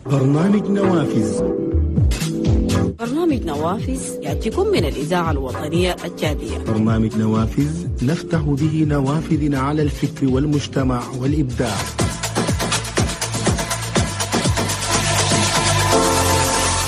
برنامج نوافذ. برنامج نوافذ يأتيكم من الإذاعة الوطنية التشادية. برنامج نوافذ نفتح به نوافذنا على الفكر والمجتمع والإبداع.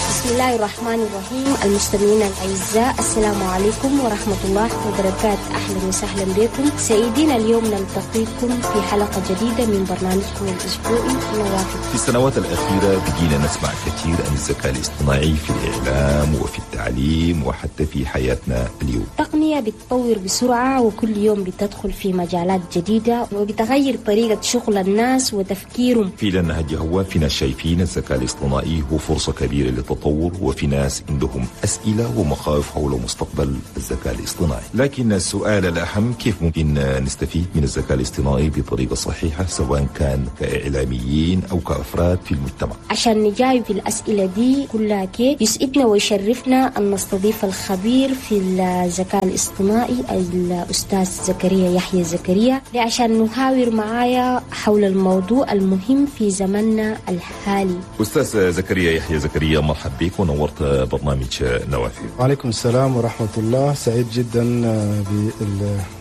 بسم الله الرحمن الرحيم. المستمعين الأعزاء، السلام عليكم ورحمة الله وبركاته. أهلا وسهلا بكم سيدنا. اليوم نلتقيكم في حلقة جديدة من برنامجكم الأسبوعي نوافذ. في السنوات الأخيرة بقينا نسمع كثير عن الذكاء الاصطناعي في الإعلام وفي التعليم وحتى في حياتنا اليوم. التقنية بتطور بسرعة وكل يوم بتدخل في مجالات جديدة وبتغير طريقة شغل الناس وتفكيرهم. في لنا هو في ناس شايفين الذكاء الاصطناعي هو فرصة كبيرة للتطور، وفي ناس عندهم أسئلة ومخاوف حول مستقبل الذكاء الاصطناعي. لكن السؤال الأهم، كيف ممكن نستفيد من الذكاء الاصطناعي بطريقة صحيحة سواء كان كإعلاميين أو كأفراد في المجتمع؟ عشان نجاوب الأسئلة دي كلها كيف يسعدنا ويشرفنا أن نستضيف الخبير في الذكاء الاصطناعي الأستاذ زكريا يحيى زكريا، عشان نحاور معايا حول الموضوع المهم في زمننا الحالي. أستاذ زكريا يحيى زكريا، مرحبا بك ونورت برنامج نوافذ. وعليكم السلام ورحمة الله. سعيد جدا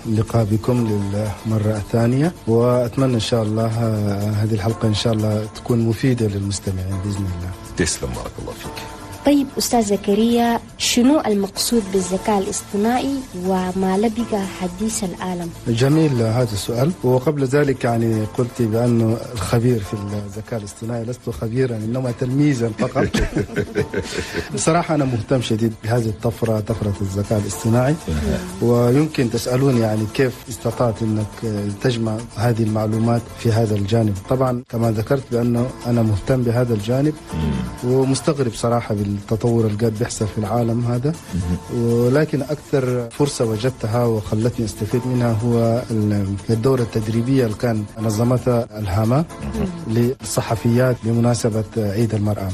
باللقاء بكم للمرة الثانية، وأتمنى إن شاء الله هذه الحلقة إن شاء الله تكون مفيدة للمستمعين بإذن الله. تسلم، بارك الله فيك. طيب أستاذ زكريا، شنو المقصود بالذكاء الاصطناعي وما لبق حديث العالم؟ جميل هذا السؤال. وقبل ذلك يعني قلت بأنه الخبير في الذكاء الاصطناعي، لست خبيرا إنما تلميذا فقط. بصراحة أنا مهتم شديد بهذه الطفرة، طفرة الذكاء الاصطناعي. ويمكن تسألوني يعني كيف استطعت أنك تجمع هذه المعلومات في هذا الجانب. طبعا كما ذكرت بأنه أنا مهتم بهذا الجانب ومستغرب صراحة التطور اللي قاعد بيحصل في العالم هذا، ولكن أكثر فرصة وجدتها وخلتني أستفيد منها هو الدورة التدريبية اللي كان نظمتها الهامة للصحفيات بمناسبة عيد المرأة.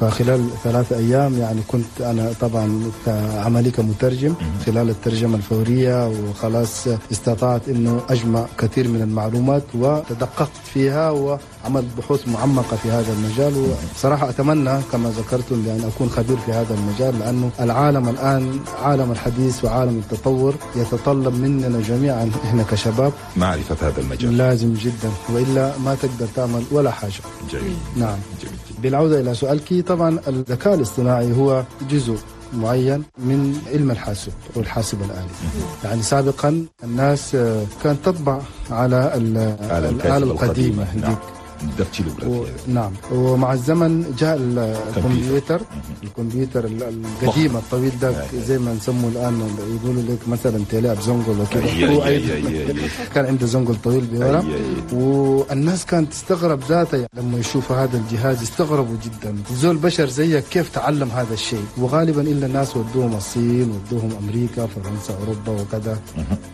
فخلال 3 أيام يعني كنت أنا طبعا كعملي كمترجم خلال الترجمة الفورية، وخلاص استطعت أنه أجمع كثير من المعلومات وتدققت فيها وعملت بحوث معمقة في هذا المجال. وصراحة أتمنى كما ذكرتم بأن أكون خبير في هذا المجال، لأنه العالم الآن عالم الحديث وعالم التطور يتطلب مننا جميعا إحنا كشباب معرفة هذا المجال، لازم جدا، وإلا ما تقدر تعمل ولا حاجة. جميل. نعم. جميل. بالعودة إلى سؤالك، طبعا الذكاء الاصطناعي هو جزء معين من علم الحاسب والحاسب الآلي. يعني سابقا الناس كانت تطبع على الآلة القديمة. نعم. نعم. ومع الزمن جاء الكمبيوتر، الكمبيوتر القديم الطويل ده زي ما نسموه الآن، يقولوا لك مثلا تلاعب زنقل وكذا. كان عنده زنقل طويل بورا، والناس كانت تستغرب ذاته لما يشوفوا هذا الجهاز، استغربوا جدا، زول بشر زيك كيف تعلم هذا الشيء؟ وغالبا إلا الناس ودوهم الصين، ودوهم أمريكا، فرنسا، أوروبا وكذا،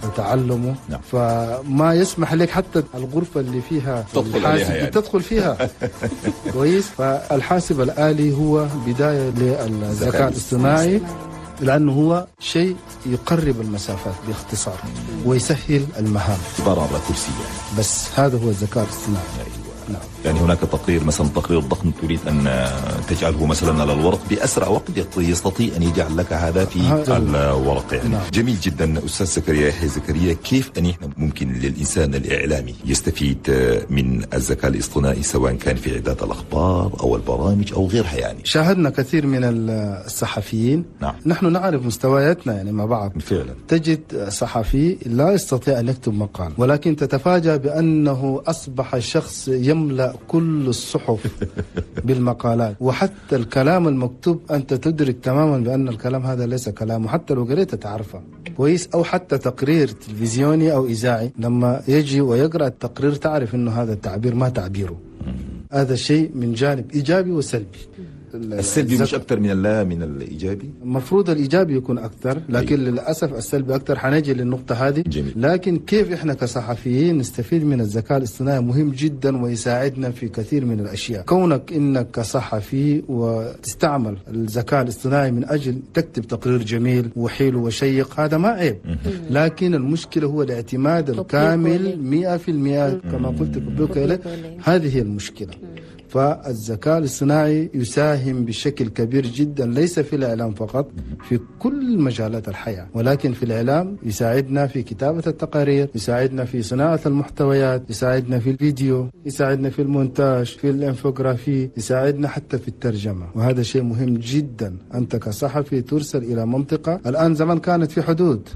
وتعلموا. فما يسمح لك حتى الغرفة اللي فيها تدخل يعني. تدخل فيها. كويس. فالحاسب الآلي هو بداية للذكاء الاصطناعي، لأنه هو شيء يقرب المسافات باختصار ويسهل المهام. عبارة على كرسي يعني. بس هذا هو الذكاء الاصطناعي. أيوة. نعم. يعني هناك تقرير مثلا، تقرير ضخم تريد أن تجعله مثلا على الورق بأسرع وقت، يستطيع أن يجعل لك هذا في الورق يعني. نعم. جميل جدا. أستاذ زكريا يحيى زكريا، كيف أن إحنا ممكن للإنسان الإعلامي يستفيد من الذكاء الاصطناعي سواء كان في إعداد الأخبار أو البرامج أو غيرها؟ يعني شاهدنا كثير من الصحفيين. نعم. نحن نعرف مستوياتنا يعني مع بعض. فعلا تجد صحفي لا يستطيع أن يكتب مقال، ولكن تتفاجأ بأنه أصبح شخص يملأ كل الصحف بالمقالات، وحتى الكلام المكتوب أنت تدرك تماما بأن الكلام هذا ليس كلامه، حتى لو قريته تعرفه كويس. أو حتى تقرير تلفزيوني أو إذاعي لما يجي ويقرأ التقرير تعرف أنه هذا التعبير ما تعبيره. هذا الشيء من جانب إيجابي وسلبي. السلبي مش أكثر من من الإيجابي؟ المفروض الإيجابي يكون أكثر، لكن للأسف السلبي أكثر. حنجي للنقطة هذه. جميل. لكن كيف إحنا كصحفيين نستفيد من الذكاء الاصطناعي مهم جدا ويساعدنا في كثير من الأشياء. كونك إنك كصحفي وتستعمل الذكاء الاصطناعي من أجل تكتب تقرير جميل وحلو وشيق، هذا ما عيب. لكن المشكلة هو الاعتماد الكامل 100% كما قلت تطبيقه إليه. هذه هي المشكلة. فالذكاء الاصطناعي يساهم بشكل كبير جدا، ليس في الإعلام فقط، في كل مجالات الحياة، ولكن في الإعلام يساعدنا في كتابة التقارير، يساعدنا في صناعة المحتويات، يساعدنا في الفيديو، يساعدنا في المونتاج، في الانفوغرافي، يساعدنا حتى في الترجمة. وهذا شيء مهم جدا. أنت كصحفي ترسل إلى منطقة، الآن زمان كانت في حدود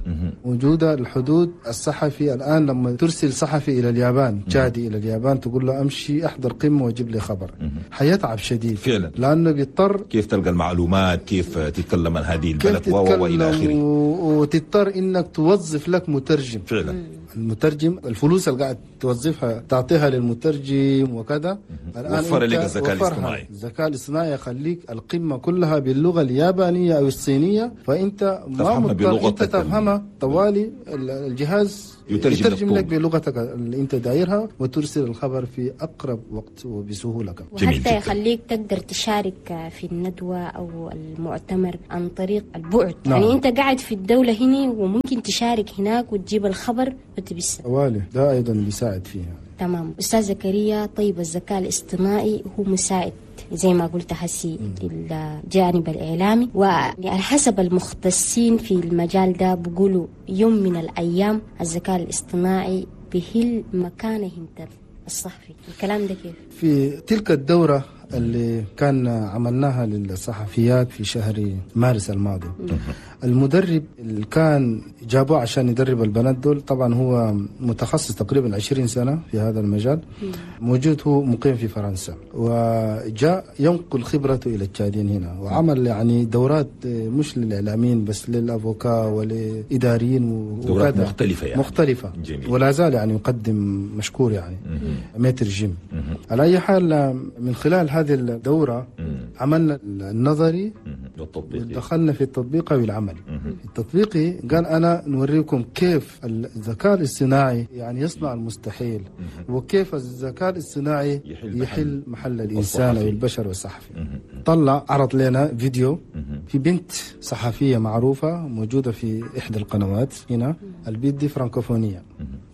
موجودة، الحدود الصحفي الآن لما ترسل صحفي إلى اليابان، تشادي إلى اليابان، تقول له أمشي أحضر قمة وجيب لي خبر، حيتعب شديد فعلا، لأنه بيضطر كيف تلقى المعلومات، كيف تتكلم عن هذه البلد وإلى آخره، وتضطر إنك توظف لك مترجم. فعلا المترجم الفلوس اللي قاعد توظفها تعطيها للمترجم وكذا. الآن وفر لك الذكاء الاصطناعي. الذكاء الاصطناعي يخليك القمة كلها باللغة اليابانية أو الصينية، فأنت ما مضطر أنت تفهمها طوالي، الجهاز يترجم لك بلغتك اللي أنت دايرها، وترسل الخبر في أقرب وقت وبسهولة كمان. وحتى يخليك تقدر تشارك في الندوة أو المؤتمر عن طريق البعد. نعم. يعني أنت قاعد في الدولة هنا وممكن تشارك هناك وتجيب الخبر وتبسه. طوالي ده أيضا بيساعد فيها. تمام. أستاذ زكريا، طيب الذكاء الاصطناعي هو مساعد زي ما قلت حسي للجانب الإعلامي، وعلى حسب المختصين في المجال ده بيقولوا يوم من الأيام الذكاء الاصطناعي بهل مكانه الصحفي. الكلام ده كيف؟ في تلك الدورة اللي كان عملناها للصحفيات في شهر مارس الماضي، المدرب اللي كان جابوه عشان يدرب البنات دول، طبعا هو متخصص تقريبا 20 سنة في هذا المجال، موجود هو مقيم في فرنسا، وجاء ينقل خبرته إلى التشادين هنا، وعمل يعني دورات مش للإعلاميين بس، للأفوكا ولإداريين، دورات مختلفة يعني. مختلفة. جميل. ولا زال يعني يقدم مشكور يعني maître جيم. على أي حال من خلال هذه الدورة عملنا النظري والتطبيقي، ودخلنا في التطبيقي والعملي. التطبيقي قال أنا نوريكم كيف الذكاء الاصطناعي يعني يصنع المستحيل، وكيف الذكاء الاصطناعي يحل محل الإنسان أو البشر والصحفي. طلع عرض لنا فيديو في بنت صحفية معروفة موجودة في إحدى القنوات هنا، البنت دي فرانكوفونية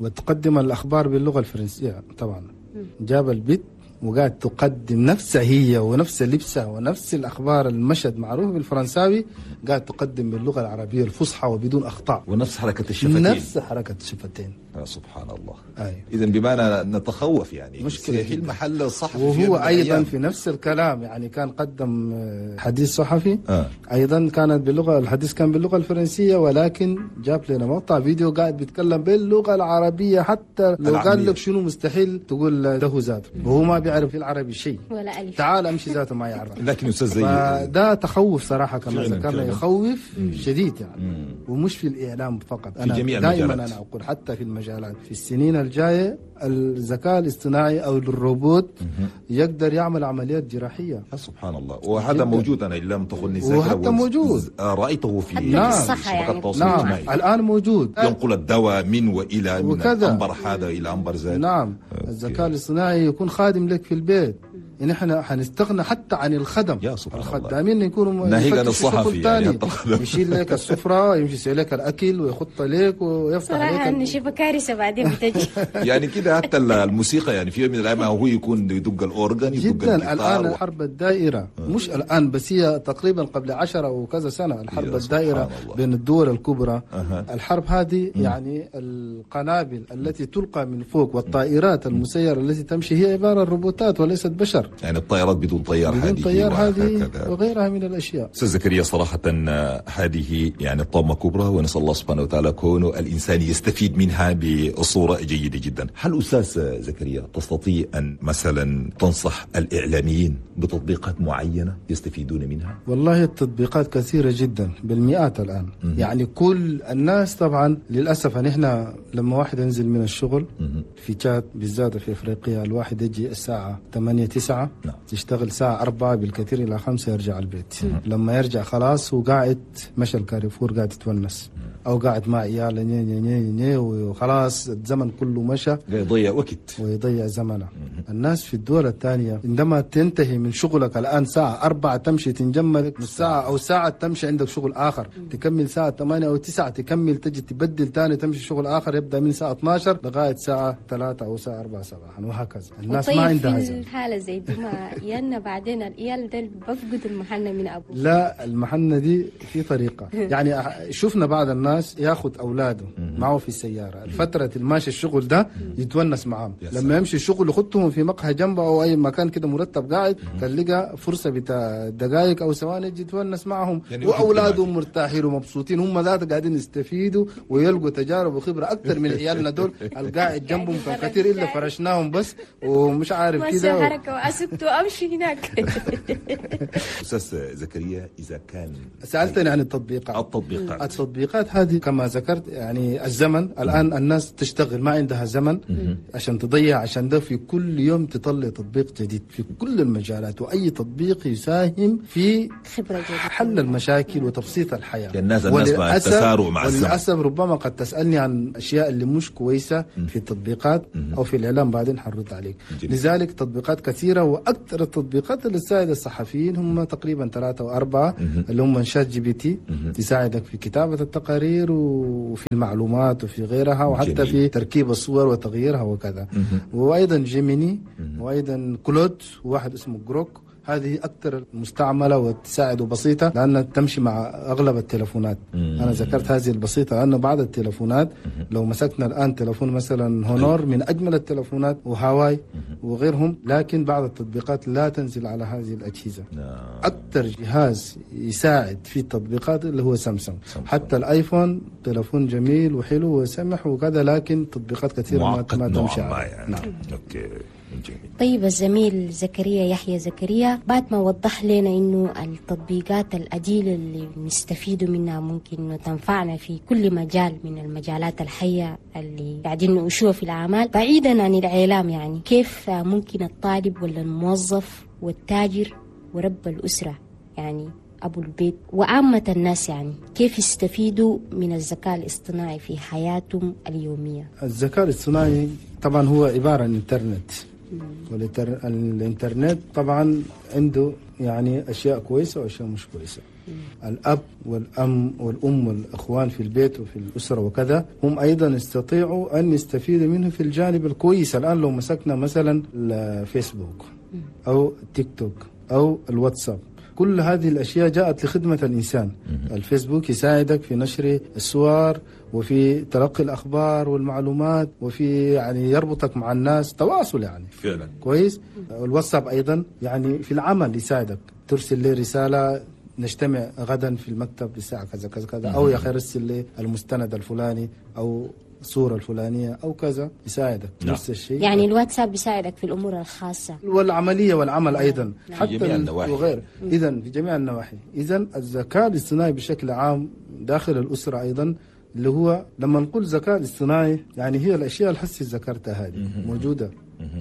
وتقدم الأخبار باللغة الفرنسية طبعا. جاب البنت وقاعد تقدم نفسها هي ونفس لبسها ونفس الأخبار، المشهد معروف بالفرنساوي، قاعد تقدم باللغة العربية الفصحى وبدون أخطاء، ونفس حركة الشفتين، نفس حركة الشفتين. سبحان الله. أي. إذا بمعنى نتخوف يعني مشكلة في المحل الصحفي، وهو أيضا في نفس الكلام يعني كان قدم حديث صحفي أيضا كانت باللغة، الحديث كان باللغة الفرنسية، ولكن جاب لنا مقطع فيديو قاعد بيتكلم باللغة العربية، حتى لو قال لك شنو مستحيل تقول ده ذاته، وهو ما بيعرف العربي شيء ولا ألف، تعال أمشي ذاته ما يعرف. لكن أستاذ زي ده تخوف صراحة، كما ذكرنا يخوف شديد يعني، ومش في الإعلام فقط، أنا دائما أنا أقول حتى في المجالات في السنين الجاية الذكاء الاصطناعي أو الروبوت يقدر يعمل عمليات جراحية. سبحان الله. وهذا جداً موجود، أنا لم تخني الذاكرة، وحتى موجود، رأيته في الصحة يعني. نعم. الآن موجود، ينقل الدواء من وإلى، من أنبر هذا إلى أنبر ذاك. نعم. الذكاء الاصطناعي يكون خادم لك في البيت، إن إحنا حنستغنى حتى عن الخدم. يا سبحان الله، الخدامين يكونوا ناهيك عن الصحفي يعني، يشيل لك السفرة، يمشي لك الأكل، ويخط لك، ويفتح لك. صراحة نشوف كارثة بعدين بتجي. يعني كده حتى الموسيقى يعني في يوم من الأيام هو يكون يدق الأورجن، يدق جدا. الجيتار. الآن الحرب الدائرة مش الآن بس، هي تقريبا قبل 10 وكذا سنة الحرب الدائرة بين الدول الكبرى. الحرب هذه يعني القنابل التي تلقى من فوق والطائرات المسيرة التي تمشي هي عبارة عن روبوتات وليست بشر. يعني الطائرات بدون طيار، بدون طيار هذه وغيرها من الأشياء. أستاذ زكريا، صراحة هذه يعني طامة كبرى، ونسأل الله سبحانه وتعالى كونه الإنسان يستفيد منها بصورة جيدة جدا. هل أستاذ زكريا تستطيع أن مثلا تنصح الإعلاميين بتطبيقات معينة يستفيدون منها؟ والله التطبيقات كثيرة جدا، بالمئات الآن. يعني كل الناس طبعا للأسف نحن لما واحد ينزل من الشغل في تشاد بالذات في إفريقيا، الواحد يجي الساعة 8-9، نعم. تشتغل ساعة 4 بالكثير إلى 5 يرجع البيت. لما يرجع خلاص وقاعد مشى الكاريفور، قاعد يتونس، او قاعد مع عياله ني ني ني ني وخلاص الزمن كله مشى، يضيع وقت ويضيع زمنه. الناس في الدول الثانية عندما تنتهي من شغلك الآن الساعة 4 تمشي تنجمل نص ساعة أو ساعة، تمشي عندك شغل آخر تكمل ساعة 8 أو 9، تكمل تجي تبدل ثاني تمشي شغل آخر يبدأ من الساعة 12 لغاية الساعة 3 أو الساعة 4 صباحا وهكذا. الناس ما عندها زمن. الحالة زي دي ما يانا بعدين العيال ده بفقد المحنة من أبوه. لا، المحنة دي في طريقة. يعني شفنا بعض الناس ياخذ أولاده معه في السيارة الفترة الماشي الشغل ده يتونس معهم، لما يمشي الشغل يخطهم في مقهى جنبه أو أي مكان كده مرتب قاعد، تلقى فرصة بتاع دقائق أو ثواني يجي يتونس معهم، يعني وأولادهم مرتاحين ومبسوطين، هم ذات قاعدين يستفيدوا ويلقوا تجارب وخبرة أكثر من عيالنا دول القاعد جنبهم كان كثير إلا فرشناهم بس ومش عارف كده حركة وأسكت وأمشي هناك. أستاذ زكريا، إذا كان سألتني عن التطبيقات هذه كما ذكرت، يعني الزمن الآن الناس تشتغل ما عندها زمن عشان تضيع، عشان ده في كل يوم تطلع تطبيق جديد في كل المجالات، وأي تطبيق يساهم في خبرة جديدة حل المشاكل وتبسيط الحياة. الناس مع التسارع مع الزمن. وللأسف ربما قد تسألني عن أشياء اللي مش كويسة في التطبيقات أو في الإعلام، بعدين حنرد عليك. لذلك تطبيقات كثيرة، وأكثر التطبيقات اللي تساعد الصحفيين هم تقريبا 3 أو 4 اللي هم ChatGPT، تساعدك في كتابة التقارير وفي المعلومات وفي غيرها، وحتى جميل. في تركيب الصور وتغييرها وكذا. وأيضا Gemini، وأيضا Claude، وواحد اسمه Grok. هذه أكثر مستعملة وتساعد وبسيطة لأنها تمشي مع أغلب التلفونات. أنا ذكرت هذه البسيطة لأن بعض التلفونات لو مسكنا الآن تلفون مثلا Honor من أجمل التلفونات، وهاواي وغيرهم، لكن بعض التطبيقات لا تنزل على هذه الأجهزة. أكثر جهاز يساعد في التطبيقات اللي هو سامسونج. حتى الآيفون تلفون جميل وحلو وسمح وكذا، لكن تطبيقات كثيرة ما تمشي عليه. يعني. نعم. okay. جميل. طيب الزميل زكريا يحيى زكريا، بعد ما وضح لنا إنه التطبيقات الأديلة اللي نستفيد منها ممكن تنفعنا في كل مجال من المجالات الحية اللي قاعدين نعيشوها في الأعمال بعيدا عن الإعلام، يعني كيف ممكن الطالب ولا الموظف والتاجر ورب الأسرة، يعني أبو البيت وعامة الناس، يعني كيف يستفيدوا من الذكاء الاصطناعي في حياتهم اليومية؟ الذكاء الاصطناعي طبعا هو عبارة عن إنترنت، والإنترنت طبعا عنده يعني أشياء كويسة وأشياء مش كويسة. الأب والأم والأخوان في البيت وفي الأسرة وكذا هم أيضا يستطيعوا أن يستفيدوا منه في الجانب الكويس. الآن لو مسكنا مثلا الفيسبوك أو تيك توك أو الواتساب، كل هذه الأشياء جاءت لخدمة الإنسان. الفيسبوك يساعدك في نشر الصور وفي تلقي الأخبار والمعلومات، وفي يعني يربطك مع الناس، تواصل يعني فعلا كويس. الواتساب أيضا يعني في العمل يساعدك، ترسل لي رسالة نجتمع غدا في المكتب الساعة كذا كذا كذا، أو يا أخي رسل لي المستند الفلاني أو الصورة الفلانية أو كذا، يساعدك. نفس الشيء يعني الواتساب بيساعدك في الأمور الخاصة والعملية والعمل أيضا. حتى وغير. إذن في جميع النواحي. إذن الذكاء الاصطناعي بشكل عام داخل الأسرة أيضا، اللي هو لما نقول ذكاء الاصطناعي يعني هي الأشياء الحسية ذكرتها هذه موجودة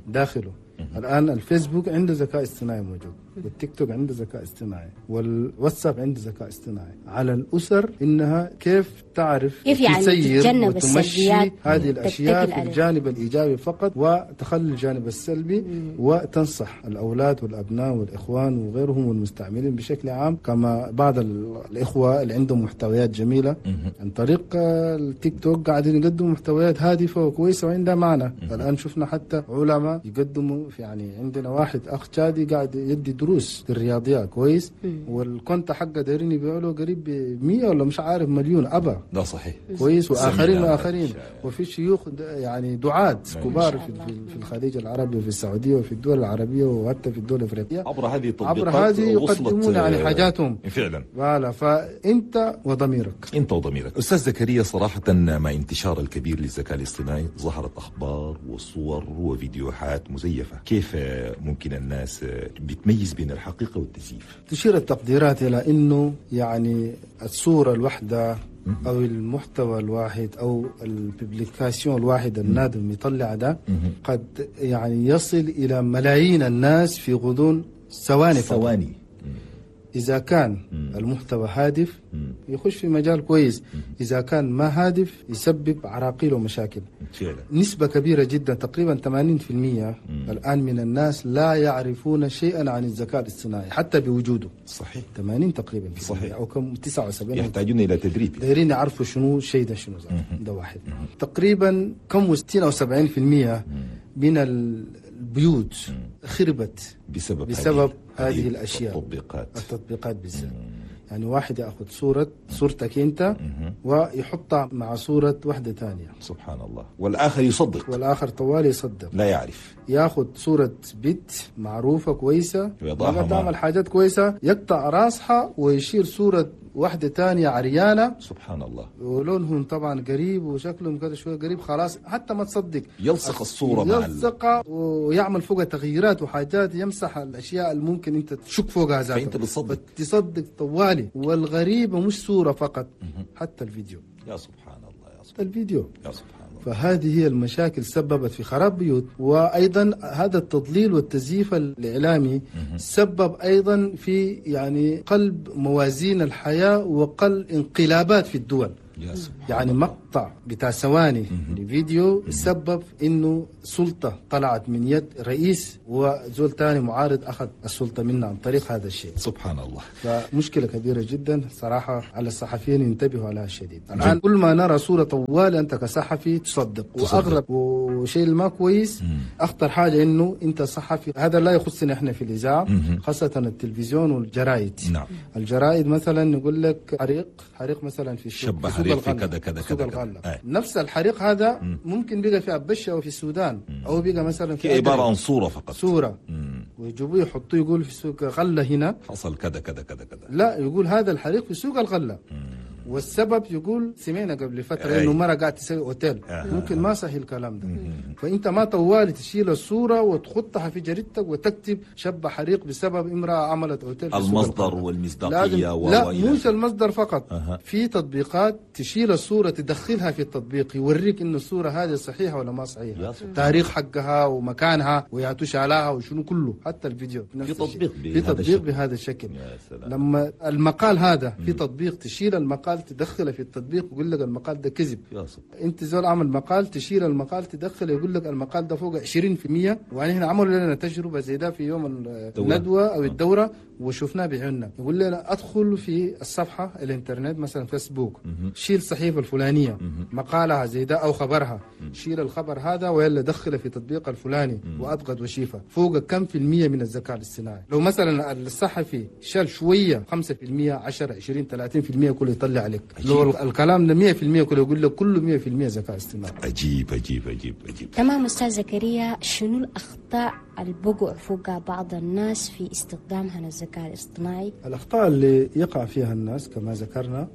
داخله. الآن الفيسبوك عنده ذكاء اصطناعي موجود، والتيك توك عنده ذكاء اصطناعي، والواتساب عنده ذكاء اصطناعي. على الأسر إنها كيف تعرف كيف يعني تسير وتمشي هذه الأشياء في الجانب الإيجابي فقط، وتخلي الجانب السلبي، وتنصح الأولاد والأبناء والإخوان وغيرهم والمستعملين بشكل عام. كما بعض الإخوة اللي عندهم محتويات جميلة عن طريق التيك توك قاعدين يقدموا محتويات هادفة وكويسة وعندها معنى. الآن شفنا حتى علماء يقدموا، يعني عندنا واحد أخ تشادي قاعد يدي دروس في الرياضيات كويس، وال compte حقه دايرين يبيعوا له قريب 100 ولا مش عارف مليون أبا. ده صحيح كويس. وآخرين وآخرين، وفي شيوخ يعني دعاة كبار في الخليج العربي وفي السعودية وفي الدول العربية وحتى في الدول الأفريقية، عبر هذه التطبيقات عبر هذه يقدمون يعني حاجاتهم فعلا. فلا فأنت وضميرك، أنت وضميرك. أستاذ زكريا، صراحة مع انتشار الكبير للذكاء الاصطناعي ظهرت أخبار وصور وفيديوهات مزيفة، كيف ممكن الناس بتميز بين الحقيقة والتزييف؟ تشير التقديرات إلى أنه يعني الصورة الواحدة أو المحتوى الواحد أو ال publication الواحد النادم يطلع ده قد يعني يصل إلى ملايين الناس في غضون ثواني. إذا كان المحتوى هادف يخش في مجال كويس، إذا كان ما هادف يسبب عراقيل ومشاكل. فعلا. نسبة كبيرة جدا تقريبا 80% الآن من الناس لا يعرفون شيئا عن الذكاء الاصطناعي حتى بوجوده. صحيح. 80 تقريبا. صحيح. أو كم 79. يحتاجون إلى تدريب، دايرين يعرفوا شنو الشيء ده، شنو ده واحد. تقريبا كم 60 أو 70% من البيوت خربت بسبب هذه الأشياء، التطبيقات بالذات. يعني واحد يأخذ صورتك أنت ويحطها مع صورة واحدة ثانية. سبحان الله. والآخر يصدق، والآخر طوال يصدق، لا يعرف. يأخذ صورة بنت معروفة كويسة لما تعمل حاجات كويسة يقطع راسها ويشيل صورة واحدة تانية عريانة. سبحان الله. ولونهم طبعا قريب وشكلهم كذا شوية قريب، خلاص حتى ما تصدق يلصق الصورة مع يلصقها ويعمل فوقها تغييرات وحاجات، يمسح الأشياء اللي ممكن أنت تشك فوقها ذاتها، فأنت بتصدق، تصدق طوالي. والغريبة مش صورة فقط، حتى الفيديو. يا سبحان الله، يا سبحان الفيديو، يا سبحان الله. فهذه هي المشاكل سببت في خراب بيوت. وأيضا هذا التضليل والتزييف الإعلامي سبب أيضا في يعني قلب موازين الحياة وقل انقلابات في الدول. يعني مقطع بتاع ثواني لفيديو سبب انه سلطة طلعت من يد رئيس وزول تاني معارض اخذ السلطة منه عن طريق هذا الشيء. سبحان الله. فمشكلة كبيرة جدا صراحة، على الصحفيين ينتبهوا على الشديد. الآن كل ما نرى صورة طوال انت كصحفي تصدق. واغرب وشيء ما كويس، اخطر حاجة انه انت صحفي، هذا لا يخصنا احنا في الإذاعة، خاصة التلفزيون والجرائد. نعم. الجرائد مثلا يقول لك حريق مثلا في الشبه، حريق في كذا كذا كذا. نفس الحريق هذا ممكن بقى في أبشة أو في السودان، أو بقى مثلا في عبارة عن صورة فقط، صورة ويجيبوه يحطوه يقول في سوق غلة هنا حصل كذا كذا كذا كذا. لا، يقول هذا الحريق في سوق الغلة. والسبب يقول سمعنا قبل فترة إنه مرة قاعد تسوي أوتيل. ممكن ما صحيح الكلام ده. فأنت ما طوالي تشيل الصورة وتحطها في جريدتك وتكتب شب حريق بسبب امرأة عملت أوتيل. المصدر والمصداقية لا، مش المصدر فقط. في تطبيقات تشيل الصورة تدخلها في التطبيق يوريك إنه الصورة هذه صحيحة ولا ما صحيحة، تاريخ حقها ومكانها ويعتوش عليها وشنو كله، حتى الفيديو في تطبيق، في تطبيق بهذا الشكل. لما المقال هذا في تطبيق تشيل المقال تدخله في التطبيق ويقول لك المقال ده كذب. انت زول عمل مقال تشيل المقال تدخله يقول لك المقال ده فوق 20%. ويعني احنا عملوا لنا تجربه زي ده في يوم الندوة او الدورة وشفناه بعيوننا. يقول لنا ادخل في الصفحة الانترنت مثلا فيسبوك، شيل الصحيفة الفلانية مقالها زي ده او خبرها، شيل الخبر هذا ويلا دخله في تطبيق الفلاني واضغط وشيفه فوق كم في المية من الذكاء الاصطناعي. لو مثلا الصحفي شال شوية 5% 10 20 30% كله يطلع عليك. لو الكلام ده 100% كله يقول لك كله 100% ذكاء اصطناعي. عجيب عجيب عجيب عجيب. تمام. استاذ زكريا، شنو الاخطاء البقع فوق بعض الناس في استخدامها للذكاء الاصطناعي؟ الاخطاء اللي يقع فيها الناس كما ذكرنا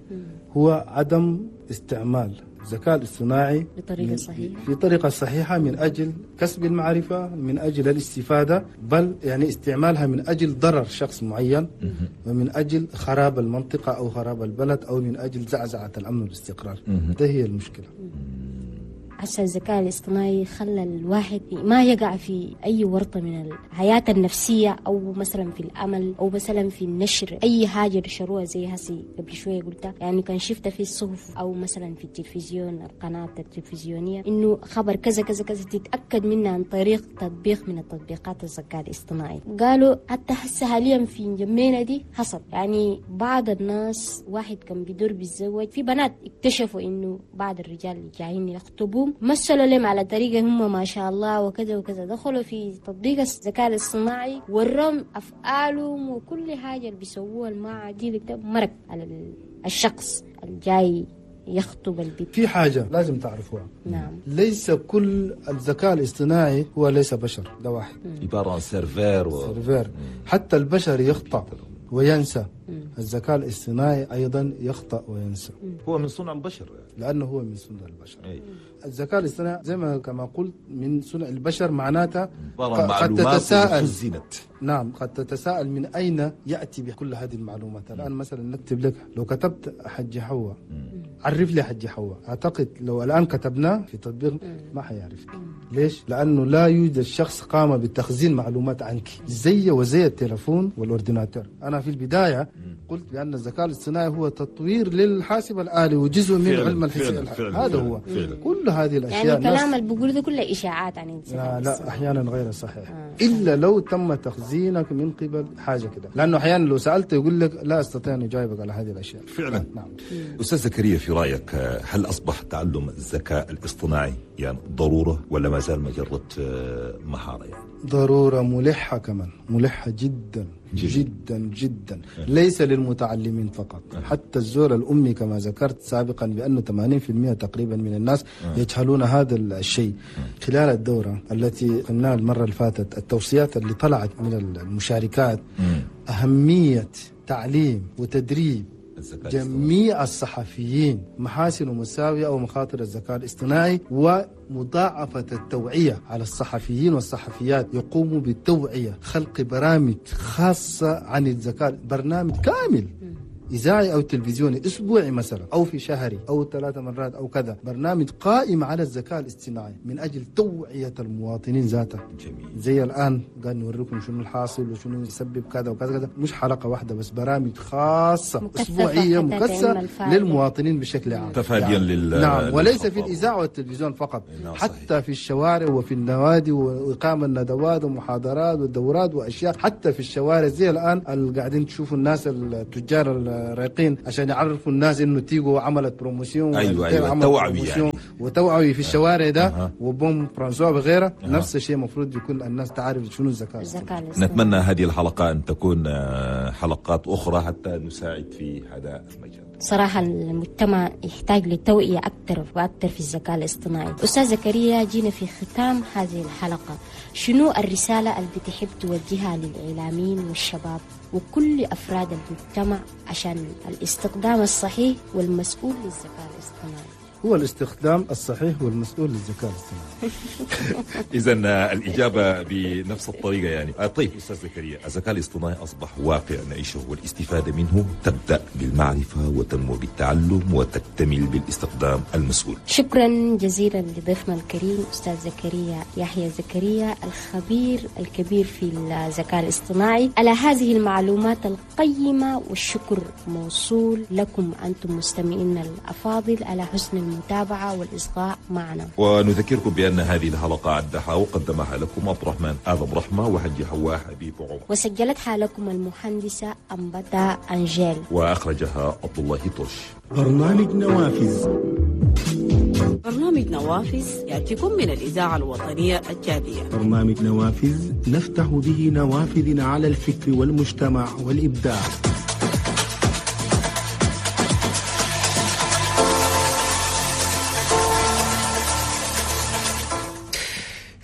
هو عدم استعمال الذكاء الاصطناعي بطريقة صحيحة، في طريقة صحيحة من أجل كسب المعرفة، من أجل الاستفادة، بل يعني استعمالها من أجل ضرر شخص معين ومن أجل خراب المنطقة أو خراب البلد أو من أجل زعزعة الأمن والاستقرار. ده هي المشكلة. هسه الذكاء الاصطناعي خلى الواحد ما يقع في أي ورطة من الحياة النفسية، أو مثلا في الأمل، أو مثلا في النشر أي حاجة نشروها زي هسي قبل شوية قلتها. يعني كان شفتها في الصحف أو مثلا في التلفزيون، القناة التلفزيونية، إنه خبر كذا كذا كذا تتأكد منه عن طريق تطبيق من التطبيقات الذكاء الاصطناعي. قالوا حتى هسه حاليا في جمينة دي حصل، يعني بعض الناس واحد كان بيدور بيتزوج، في بنات اكتشفوا إنه بعض الرجال اللي جايين يخطبوهم مثلوا لهم على طريقة هم ما شاء الله وكذا وكذا، دخلوا في تطبيق الذكاء الاصطناعي ورم أفعالهم وكل حاجة اللي بيسووها المعادي مرق على الشخص الجاي يخطب البيت. في حاجة لازم تعرفوها. نعم. ليس كل الذكاء الاصطناعي هو ليس بشر، ده واحد. عبارة عن server server. حتى البشر يخطأ وينسى. الذكاء الاصطناعي أيضا يخطأ وينسى. هو من صنع البشر، لأنه هو من صنع البشر. الذكاء الاصطناعي زي ما كما قلت من صنع البشر، معناته قد تتساءل. نعم، قد تتساءل من أين يأتي بكل هذه المعلومات. الآن مثلا نكتب لك، لو كتبت حج حواء عرف لي حجي حواء، اعتقد لو الان كتبناه في تطبيق ما حيعرفك. ليش؟ لانه لا يوجد شخص قام بتخزين معلومات عنك زي وزي التلفون وال ordinateur. انا في البداية قلت بان الذكاء الاصطناعي هو تطوير للحاسب الالي وجزء من علم الحساب، هذا هو. فعلا. كل هذه الاشياء يعني الكلام اللي بقوله ده كله اشاعات عن الذكاء. لا احيانا غير صحيح، الا لو تم تخزينك من قبل حاجة كده، لانه احيانا لو سالته يقول لك لا استطيع ان اجاوبك على هذه الاشياء. فعلا. نعم. استاذ زكريا، في رايك هل اصبح تعلم الذكاء الاصطناعي يعني ضرورة ولا ما زال مجرد مهارة؟ يعني ضرورة ملحة، كمان ملحة جدا جدا جدا، ليس للمتعلمين فقط، حتى الزول الأمي كما ذكرت سابقا بأنه 80% تقريبا من الناس يجهلون هذا الشيء. خلال الدورة التي قلناها المرة اللي فاتت، التوصيات اللي طلعت من المشاركات أهمية تعليم وتدريب جميع الصحفيين محاسن ومساوئ أو مخاطر الذكاء الاصطناعي، ومضاعفة التوعية على الصحفيين والصحفيات يقوموا بالتوعية، خلق برامج خاصة عن الذكاء، برنامج كامل إذاعي أو تلفزيوني أسبوعي مثلا أو في شهري أو 3 مرات أو كذا، برنامج قائم على الذكاء الاصطناعي من أجل توعية المواطنين ذاته. جميل. زي الآن قاعد نوريكم شنو الحاصل وشنو يسبب كذا وكذا كذا، مش حلقة واحدة بس، برامج خاصة أسبوعية مكثفة للمواطنين بشكل عام، تفاديا يعني. نعم، وليس في الإذاعة والتلفزيون فقط، حتى صحيح. في الشوارع وفي النوادي وإقامة الندوات ومحاضرات والدورات وأشياء حتى في الشوارع، زي الآن اللي قاعدين تشوفوا الناس التجار رايقين عشان يعرفوا الناس انه تيجو عملت promotion. ايوه توعوي يعني، وتوعوي في الشوارع ده، وبوم فرانسوا وغيره. نفس الشيء المفروض يكون الناس تعرف شنو الذكاء. نتمنى هذه الحلقة ان تكون حلقات اخرى حتى نساعد في هذا المجال. صراحة المجتمع يحتاج لتوعية أكثر وأكثر في الذكاء الاصطناعي. أستاذ زكريا، جينا في ختام هذه الحلقة، شنو الرسالة اللي بتحب توجهها للإعلاميين والشباب وكل أفراد المجتمع عشان الاستخدام الصحيح والمسؤول للذكاء الاصطناعي؟ هو الاستخدام الصحيح والمسؤول للذكاء الاصطناعي. إذا الإجابة بنفس الطريقة يعني. طيب أستاذ زكريا، الذكاء الاصطناعي أصبح واقع نعيشه، والاستفادة منه تبدأ بالمعرفة وتنمو بالتعلم وتكتمل بالاستخدام المسؤول. شكرا جزيلا لضيفنا الكريم أستاذ زكريا يحيى زكريا، الخبير الكبير في الذكاء الاصطناعي، على هذه المعلومات القيمة، والشكر موصول لكم أنتم مستمعين الأفاضل على حسن المتابعة والإصغاء معنا. ونذكركم بأن هذه الحلقة عدها وقدمها لكم عبد الرحمن آدم رحمة وحجي حواء حبيب عمر، وسجلتها لكم المهندسة أمبتا أنجيل، وأخرجها عبد الله طش. برنامج نوافذ. برنامج نوافذ يأتيكم من الإذاعة الوطنية التشادية. برنامج نوافذ نفتح به نوافذنا على الفكر والمجتمع والإبداع.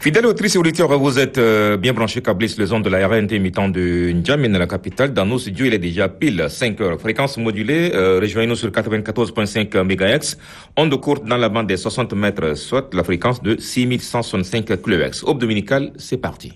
Fidèles auditrices et auditeurs, vous êtes bien branchés, câblés sur les ondes de la RNT imitant de N'Djamena, la capitale. Dans nos studios, il est déjà pile 5 heures. Fréquence modulée, rejoignez-nous sur 94.5 MHz. Onde courte dans la bande des 60 mètres, soit la fréquence de 6165 kHz. Aube dominicale, c'est parti.